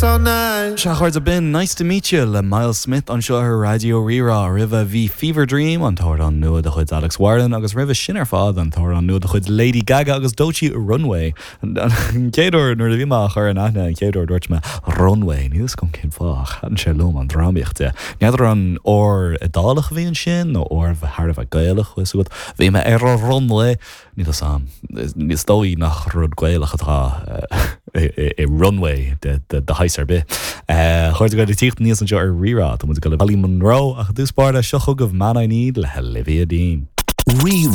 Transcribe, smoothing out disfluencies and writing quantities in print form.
this all night. Sea, a chairde, b'in Nice to Meet You le Myles Smith anseo ar Raidió Rí-Rá. Roimhe bhí Fever Dream, an t-amhrán nua de chuid Alex Warren, agus roimhe sin ar fad an t-amhrán nua de chuid Lady Gaga agus Doechii, Runway. An chéad uair nuair a bhí mé á chur in aithne an chéad uair dúirt mé Runway, níl fhios agam cén fáth ach thaitin sé liom an drámaíocht de. N'fheadar an R Iodálach a bhí ansin nó R thar a bheith Gaelach, bhfuil fhios agat. Bhí mé ar an runway! Níl fhios a'm. Is dóigh nach rud Gaelach atá i runway de shaghas ar bith. A chairde ag tíocht aníos anseo ar Rí-Rá, tá muid ag dul le Holly Monroe ach i dtús báire seo chugaibh Man I Need le Olivia Dean. Rí.